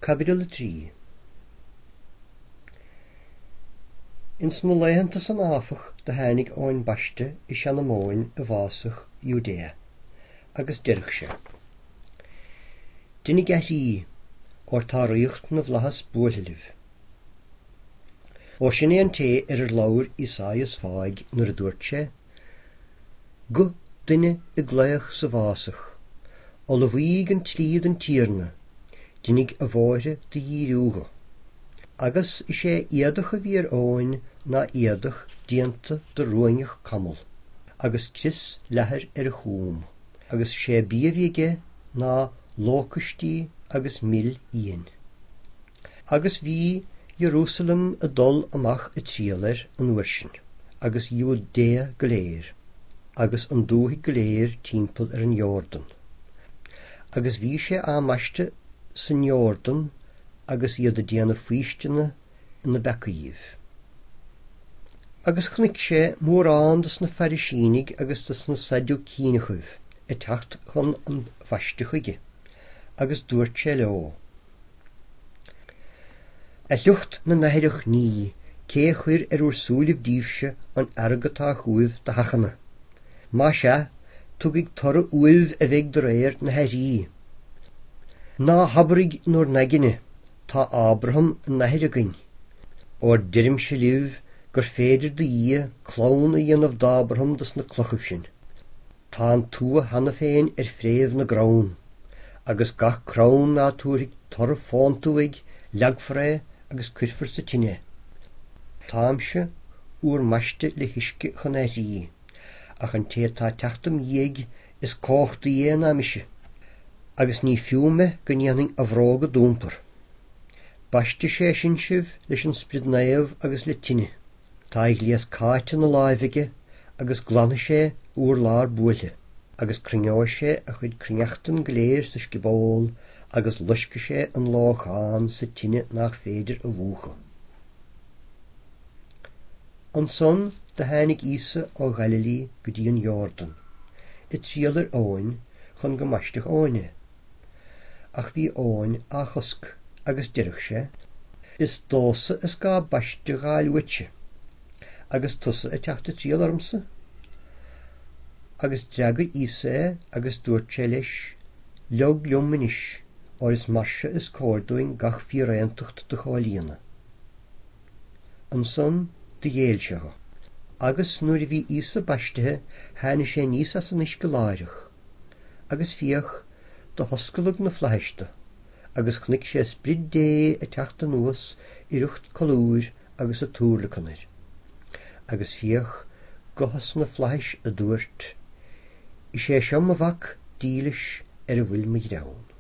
Caibidil 3 Ins na laethanta san áfach do tháinig Eoin Baiste i Seanamóin i bhfásach Iúdéa, agus deireadh sé, Deinidh aithrí, óir tá ríocht na bhflaitheas buailthe libh. Óir sin é an té ar ar labhair Ísáias fáidh nuair a dúirt sé, Guth duine ag glaoch sa bhfásach, Ullmhaídh an tslí don Tiarna, deinidh a bhóithre do dhíriú dho. Agus is é éadach a bhí ar Eoin ná éadach déanta de ruainneach camall, agus crios leathair ar a chúm, agus is é bia a bhí aige ná lócaistí agus mil fhiain. Agus bhí Ierúsalem ag dul amach ag triall air an uair sin, agus Iúdéa go léir, agus an dúthaigh go léir timpeall ar an Iórdan. Agus bhí sé á mbaisteadh san Iórdan agus iad ag déanamh faoistine ina bpeacaíbh. Agus chonaic sé mórán de sna Fairisínigh agus de sna Saidiúcíneachaibh ag teacht chun an bhaiste chuige, agus dúirt sé leo, A shliocht na n-aithreach ní, cé a chuir ar bhur súilibh díbhse an fhearg atá chugaibh do sheachnadh? Más ea, tugaidh toradh uaibh a bheidh de réir na haithrí. Ná habraidh in bhur n-aigne, Tá Ábraham ina athair againn. Óir deirimse libh gur féidir do Dhia clann a dhéanamh d'Ábraham de sna clochaibh sin. Tá an tua cheana féin ar phréimh na gcrann, agus gach crann ná tabharfaidh toradh fónta uaidh leagfar é agus cuirfear sa tine é. Táimse úr mbaisteadh le huisce chun aithrí, ach an té atá ag teacht im dhiaidh is cumhachtaí é ná mise, agus ní fiú mé go ndéanfainn a bhróga d'iompar. Baistfidh sé sin sibh leis an Sprid Naomh agus le tine. Tá a ghléas cáite ina láimh aige agus glanfaidh sé a urlár buailthe, agus cruinneoidh sé a chuid cruithneachtan go léir sa scioból agus loiscfidh sé an lóchán sa tine nach féidir a mhúchadh. Ansan do tháinig Íosa ó Ghaililí go dtí an Iórdan, ag triall ar Eoin chun go mbaistfeadh Eoin é. Ach bhí Eoin á chosc, agus deireadh sé, Is domhsa is gá baisteadh dh'fháil uaitse, agus tusa ag teacht ag triall ormsa? Agus d'fhreagair Íosa é agus dúirt sé leis, Leog liom anois, óir is mar seo is cóir dúinn gach fíréantacht do chomhlíonadh. Ansan do ghéill sé dho. Agus nuair a bhí Íosa baistithe tháinig sé aníos as an uisce láithreach. Agus féach, do hoscladh na flaithis do, agus chonaic sé Sprid Dé ag teacht anuas i riocht colúir agus ag tuairleacan air. Agus féach, guth as na flaithis a dúirt, Is é seo mo Mhac dílis ar a bhfuil mo ghreann.